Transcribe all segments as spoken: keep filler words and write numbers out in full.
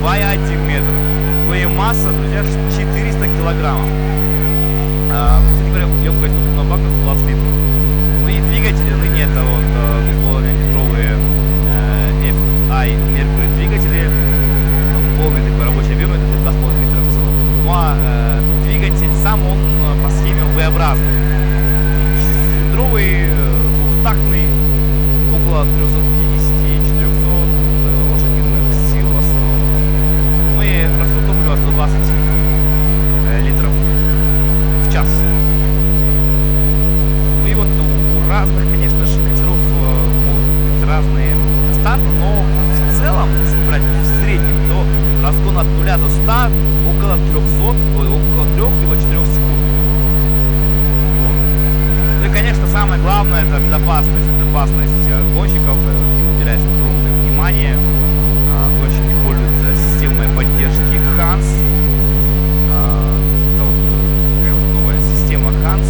два и один метр. Ну и масса, друзья, четыреста килограммов. А, кстати говоря, емкость топливного бака сто двадцать литров. Ну и двигатели ныне это вот две с половиной литровые эф ай Mercury двигатели. Полный такой рабочий объем, это два с половиной литра в целом. Ну а э, двигатель сам, он по схеме V-образный. Шестицилиндровый, двухтактный, около трёхсот пятидесяти - четырёхсот лошадиных сил в основном. Ну и расход топлива сто двадцать литров в час. Ну и вот у разных, конечно же, катеров могут быть разные старты, но в целом, если брать в среднем, то разгон от нуля до ста около трёхсот, около трёх либо четырёх секунд. Вот. Ну и, конечно, самое главное — это безопасность. Безопасность гонщиков, им уделяется огромное внимание. Гонщики пользуются системой поддержки Ханс. Это вот новая система Ханс,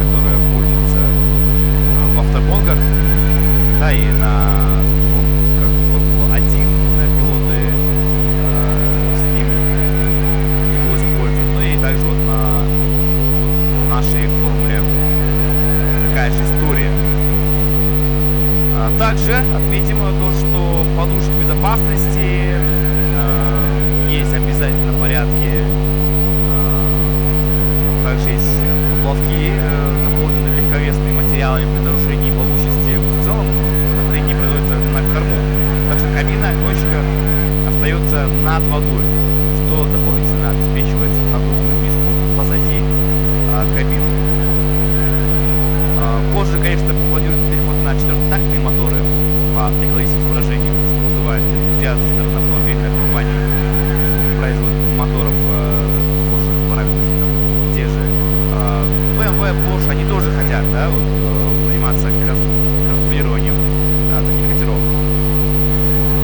которая пользуется в автогонках, да, и на гонках Формула один пилоты с ним его используют. Ну и также вот на нашей формуле такая же история. А также отметим то, что подушки безопасности э, есть обязательно в порядке. Э, также есть поплавки, э, наполненные легковесными материалами при нарушении плавучести. В целом направление производится на корму. Так что кабина гонщика остается над водой, что дополнительно обеспечивается надувным мешком позади э, кабины. Позже, конечно, планируется переход на четырехтактные моторы по экологическим соображениям, что вызывает энтузиазм со стороны автомобильных компаний, производителей моторов схожих параметров, там, те же бэ эм вэ, Porsche, они тоже хотят, да, вот, заниматься конструированием таких катеров.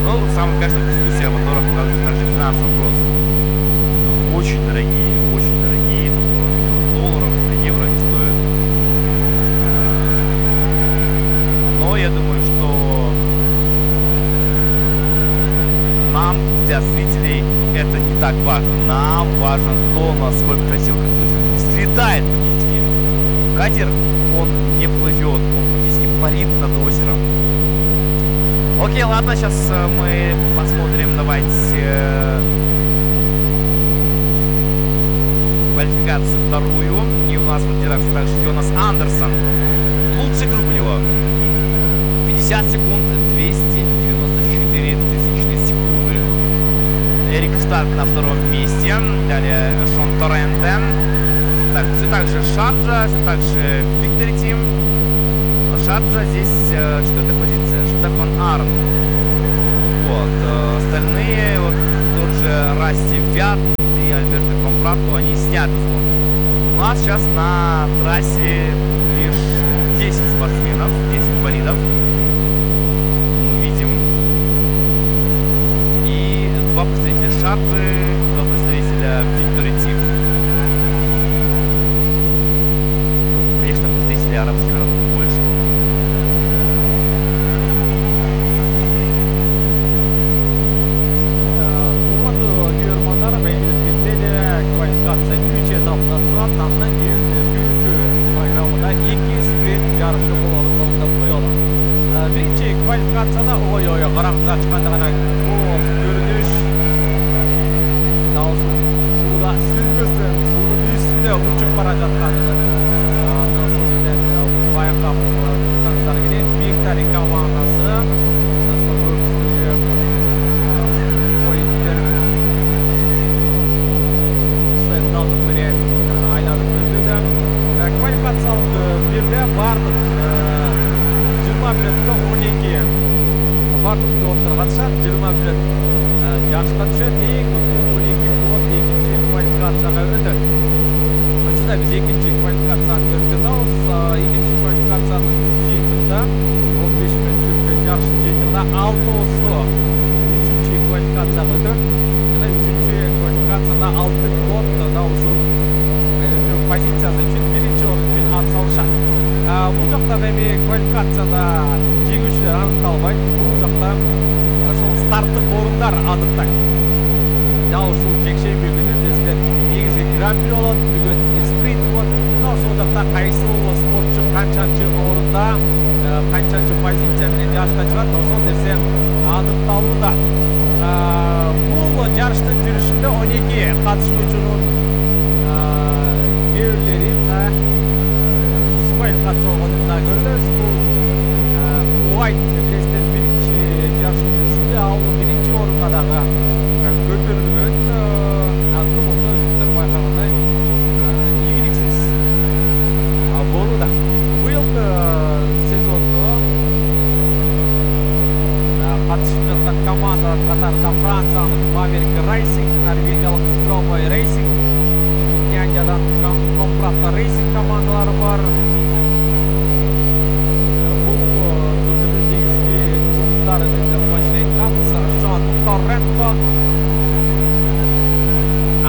Но самая, конечно, дискуссия о моторах показывает также финансовый вопрос. Очень дорогие, очень дорогие, там, миллион долларов, евро не стоят. Но я думаю, что нам, для зрителей, это не так важно. Нам важно то, насколько красиво взлетает практически. Катер, он не плывет, он практически парит над озером. Окей, ладно, сейчас мы посмотрим, давайте, квалификацию вторую. И у нас в лидерах также Йонас Андерсон. Лучший круг у него. пятьдесят секунд, двести девяносто четыре тысячные секунды. Эрик Старк на втором месте. Далее Шон Торренте. Так, все так же Шарджа, все так же Victory Team. Шарджа здесь э, четвертая позиция. Штефан Арн. Вот. Э, остальные, вот тот же Расти Вят и Альберто Компрато, они сняты с гонки. У нас сейчас на трассе лишь десять спортсменов, десять болидов. Два представителя Шарджи, два представителя Victory Team. Ну, конечно, представители арабских народов больше. Урматтуу көрөрмандар, мен өткөндө квалификация үч этаптан турат. Андан кийин бүгүнкү программада эки спринт жарышы болоорун деп коелу. Биринчи квалификацияда ой-ой, караңгыга чыкканда гана көрүнүш суда сүзбөстөн суунун үстүндө учуп бара жатканын андан сол жерден байкап турсаңыздар керек. Victory командасы сол көпүсүндө поинттер сетталык менен айланып өтүүдө. Квалификациялык бирде бардык жыйырма мүнөттө он эки бардык пилоттор катышат. жыйырма мүнөт жарышка түшөт. Эң көп он эки пилот экинчи квалификацияга өтөт. Ошондо биз экинчи квалификацияны көрүп жатабыз. Экинчи квалификациянын жыйынтыгында он беш мүнөттүк жарыштын жыйынтыгында алтоосу үчүнчү квалификацияга өтөт. Жана үчүнчү квалификацияда алты пилот да ушул өзүнүн позициясы үчүн биринчи орун үчүн ат салышат. Бул жакта эми квалификацияда жеңүүчүлөр аныкталбайт. Бул жакта ошол старттык орунда жылдар адыктайт. Дал ушул жекшемби күнү бізде негизги гран-при болот, бүгүн спринт болот. Мына ошол жакта кайсы спортчу канчанчы орунда, канчанчы позиция менен жарышка чыгат, ошол нерсе анықталууда. Бул жарыштын жүрүшүндө он эки катышуучунун кээ бирлери спайт катышканын да көрдүбүз. Бул Уайт Крестен биринчи жарыштын жүрүшүндө ал биринчи орунга дагы көтөрүлгөн. Азыр болсо өзүңүздөр байкагандай ийгиликсиз болууда. Быйылкы сезондо катышып жаткан командалар катарында Франциянын Maverick Racing, Норвегиялык Stroboy Racing, Финляндиядан Komprata Racing командалары бар. Бул турнирдин негизги жылдыздары деп башын айтканбыз. Жон Торренто,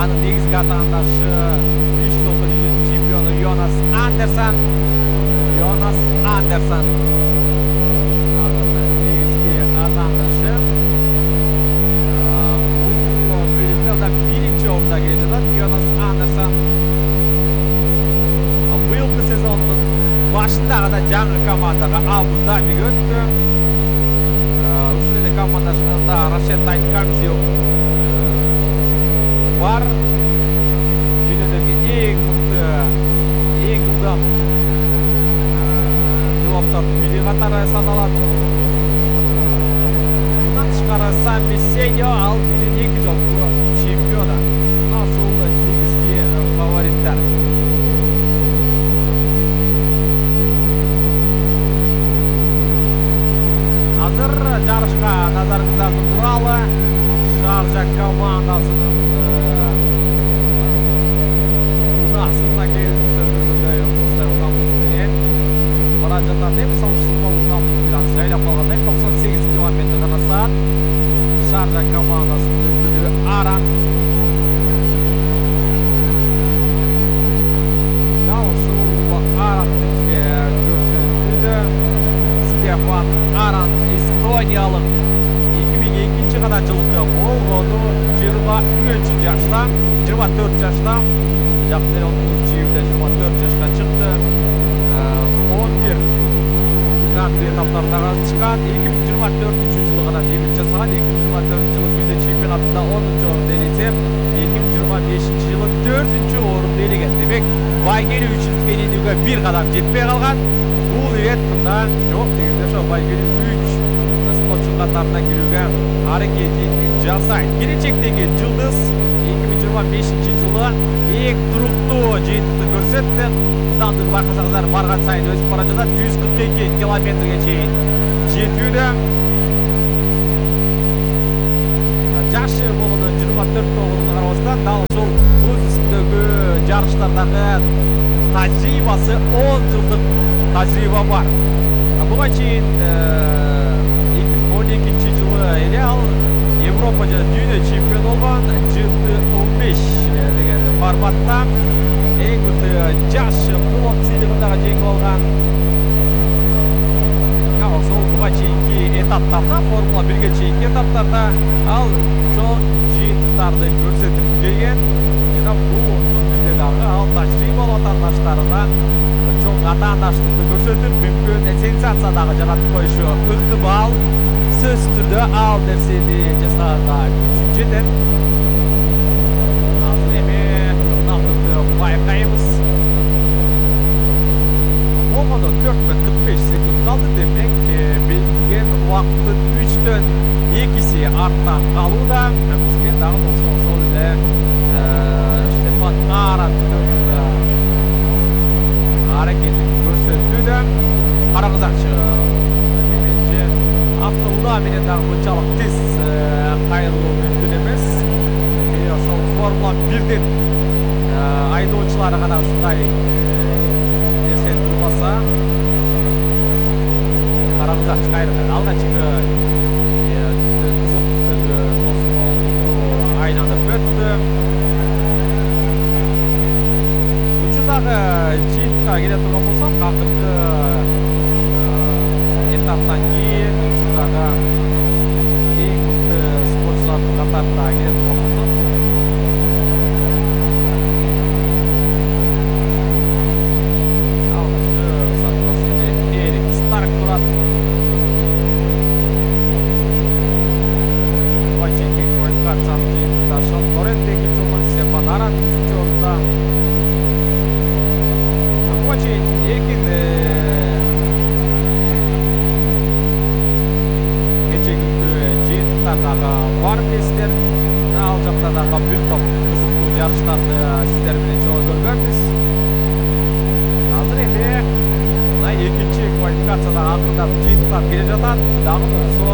анын негизги атаандашы беш жолку дүйнөнүн чемпиону Йонас Андерсон. Йонас Андерсон атаандашы. Бул бөлүмдө биринчи орунда келе жатат Йонас Андерсон. Быйылкы сезондун башындагы да жаңы командага Абу Дабиге өттү. Ушул эле командашында Рашед Айткамзи бар. Дүйнөдөгү эң мыкты, эң ылдам пилоттордун бири катары саналат. Тышкары Самми Сейо ал биринчи эки жолку чемпиону. Ошол негизги фавориттер. Азыр жарышка назарыңыздарды буралы. Шаржа командасынын унасына келиңиздер ылдамдык менен бара жатат. Эми салыштырмалуу ылдамдык бир аз жайлап калгандай токсон сегиз километр гана саат. Шаржа командасынын өкүлү Аран. Дал ушул Аран бизге көрсөтүүдө. Стефан Аран эстониялык эки миң экинчи гана жылкы болгону жыйырма үч жашта, жыйырма төрт жашта. Жакын эле он тогузунчу июлда жыйырма төрт жашка чыкты. он бир гран-при этаптарына катышкан. эки миң жыйырма төртүнчү жылы гана дебют жасаган. эки миң жыйырма төртүнчү жылы дүйнө чемпионатында онунчу орунду ээлесе, эки миң жыйырма бешинчи жылы төртүнчү орунду ээлеген. Демек, байгели үчүнчүгө ээлүүгө бир кадам жетпей калган. Бул ирет мында жок дегенде ошо байгели үч спортчу катарына кирүүгө аракетин жасайт. Келечектеги жылдыз эки миң жыйырма бешинчи жылы эң туруктуу жыйынтыкты көрсөттү. Ылдамдыгы байкасаңыздар барган сайын өсүп бара жатат. жүз кырк эки километрге чейин жетүүдө. Жашы болгондо жыйырма төрт болгонуна карабастан дал ушул өз үстүндөгү жарыштардагы тажрыйбасы он жылдык тажрыйба бар. Буга чейин эки миң он экинчи жылы эле ал Европа жана дүйнө чемпиону болгон Джи Т он беш деген форматта эң мыкты жаш пилот сыйлыгын дагы жеңип алган. Ошол буга чейинки этаптарда, Формула бирге чейинки этаптарда ал чоң жыйынтыктарды көрсөтүп келген. Жана бул турнирде дагы ал тажрыйбалуу атаандаштарына чоң атаандаштыкты көрсөтүп, мүмкүн сенсация дагы жаратып коюшу ыктымал. Сөзсүз түрдө ал нерсени жасаганга күчү жетет. Азыр эми ылдамдыкты байкайбыз. Болгондо төрт бүтүн кырк беш секунд калды. Демек, белгиленген убакыттын үчтөн экиси артта калууда. Бизге дагы болсо ошол эле Стефан Арандын аракетин көрсөтүүдө. Караңыздарчы, менимче автоунаа менен дагы мынчалык тез кайрылуу мүмкүн эмес. Ошол Формула бирдин айдоочулары гана ушундай нерсе кылбаса. Караңыздарчы, кайрылды. Алгачкы кызыл түстөгү тосмолду айланып өттү. Учурдагы жыйынтыкка келе турган болсок, акыркы этаптан кийин учурдагы эң мыкты спортчулар стартын катарында келет болсун. Алгачкы сатылышында Эрик Старк турат. Бачеки квалификациянын жыйынтыгында Шон Торрент экинчи болгон, Стефан Аран үчүнчү орунда. Бачи эркин дагы бар билесиздер. Ал жакта дагы бир топ кызыктуу жарыштарды сиздер менен чогуу көргөнбүз. Азыр эми мына экинчи квалификацияда акырындап жыйынтыктап келе жатат. Дагы болсо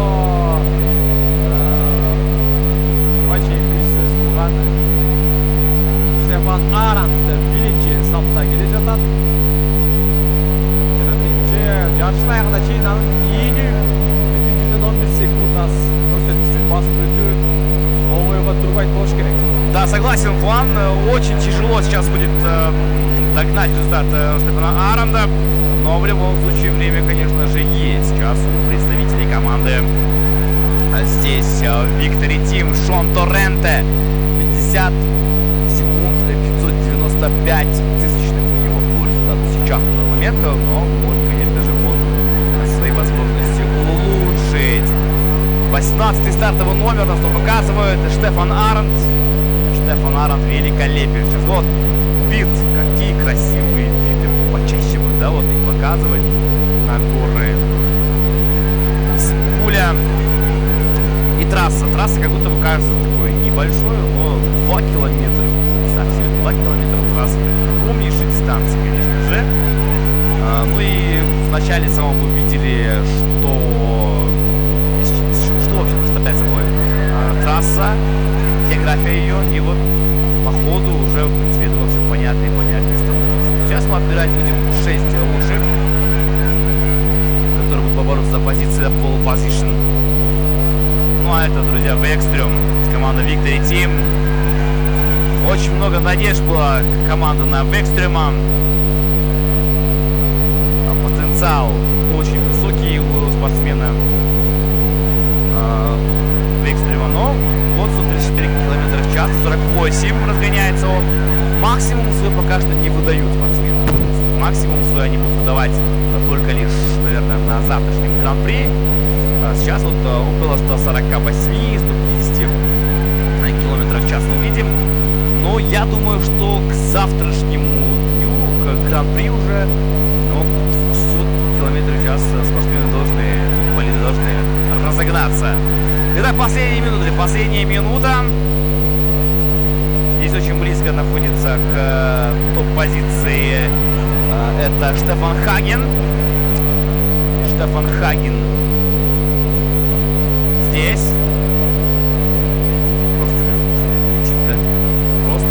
Бачи биз кылган Стефан Арант биринчи сапта келе жатат. Жана менимче жарыштын аягына чейин анын ийүү бүтүн жүздөн он бир секунд көрсөткүчүн басып өтүү оңойго турбайт болуш керек. Да, согласен, Хуан. Очень тяжело сейчас будет э, догнать результат э, Стефана Аранда. Но в любом случае время, конечно же, есть. Сейчас у представителей команды э, здесь э, Victory Team Шон Торренте. пятьдесят секунд, пятьсот девяносто пять тысячных у него по результату сейчас на данный момент. Но может, конечно же, он свои возможности улучшить. восемнадцатый стартовый номер нас тут показывает Стефан Аранд. Стефан Аранд великолепен. Сейчас вот вид, какие красивые виды. Почаще бы, да, вот их показывать на горы. Пуля и трасса. Трасса как будто бы кажется такой небольшой, но два километра. Представьте себе, два километра трассы. Огромнейшей дистанции, конечно же. А, ну и в начале самом вы видели, что что вообще представляет собой а, трасса, география ее, и вот по ходу уже, в принципе, это все понятно и понятнее становится. Сейчас мы отбирать будем шесть лучших, которые будут побороться за позиции pole position. Ну а это, друзья, Векстрем, команда Victory Team. Очень много надежд была команда на Векстрема. Потенциал очень высокий у спортсмена Векстрема, но вот сто тридцать четыре километра в час, сорок восемь разгоняется он. Максимум свой пока что не выдают спортсмены. Максимум свой они будут выдавать только лишь, наверное, на завтрашнем гран-при. Сейчас вот около ста сорока восьми — ста пятидесяти километров в час мы видим. Но я думаю, что к завтрашнему дню, к гран-при уже, ну, двухсот километров в час спортсмены должны, болиды должны разогнаться. Итак, последние минуты, последняя минута. Здесь очень близко находится к топ-позиции. Это Штефан Хаген. Штефан Хаген здесь.